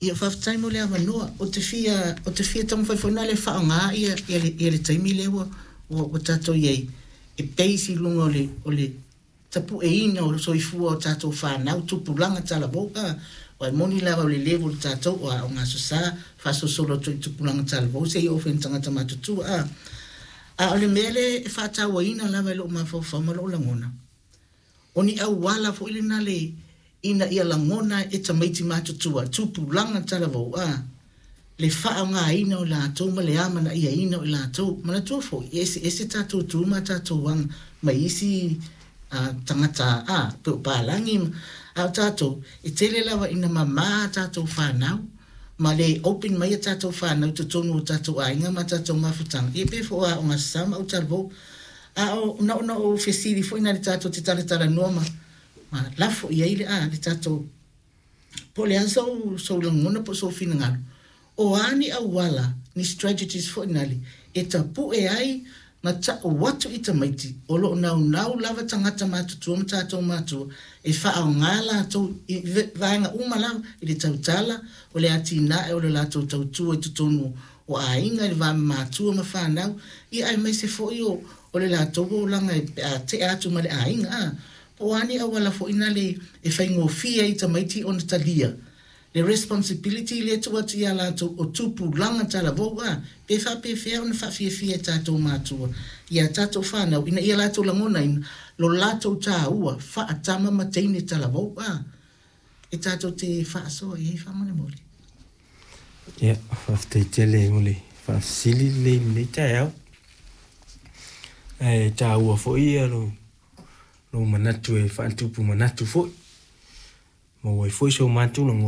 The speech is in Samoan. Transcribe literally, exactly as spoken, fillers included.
Ia, faafetai mo le avanoa. Ou te fia, ou te fia taumafai foi na le faaaoga ia, ia, le, ia le taimi lea ua, ua, ua tatou i ai e base i luga o le, o le tapueina o le soifua o tatou fanau, tupulaga talavou. A aua e moni lava o le level o tatou o aoga Aso Sa faasolosolo atu i tupulaga talavou seia oo foi i tagata matutua. A a o le mea lea e faatauaina lava i lou mafaufau ma lou lagona, o ni auala foi lena le ina ia lagona e tamaiti matutua, tupulaga talavou, a le faaaogaina o latou ma le amanaiaina o i latou. Manatua foi, e eseese tatou tu ma tatou aga mai isi uh, tagata a pe o palagi, a o tatou e tele lava ina mamā tatou fanau ma le open mai a tatou fanau i totonu o tatou aiga ma tatou mafutaga, ia pe foi o aoga Aso Sa ma autalavou. A o na ona ou fesili foi na le tatou te talatalanoa ma ma lafo i ai le a le tatou po o le a sou, sou lagona po o sou finagalo, o a ni auala, ni strategies foi nale e tapue ai ma ta'u atu i tamaiti o loo naunau lava tagata matutua ma tatou matua e faaaogā latou i vaega uma lava i le tautala o le atinae o le latou tautua i totonu o aiga i le va matua ma fanau, ia aemaise foi o, o le latou olaga pe a tea atu ma le aiga. A po o a ni auala foi nale e faigofie ai tamaiti ona talia le responsibility le tuu atu ia latou o tupulaga talavou, a pe faapefea ona faafiafia e tatou matua ia tatou fanau ina ia latou lagonaina lo latou tāua faatama ma teine talavou a e tatou te faasoa i ai faamolemole. Ia, faafetai tele mo le faafesili lelei i lenei taeao. Ae taua foi ia lou, lou manatu e faatupu manatu foi. Maua ai foi so matou lagona.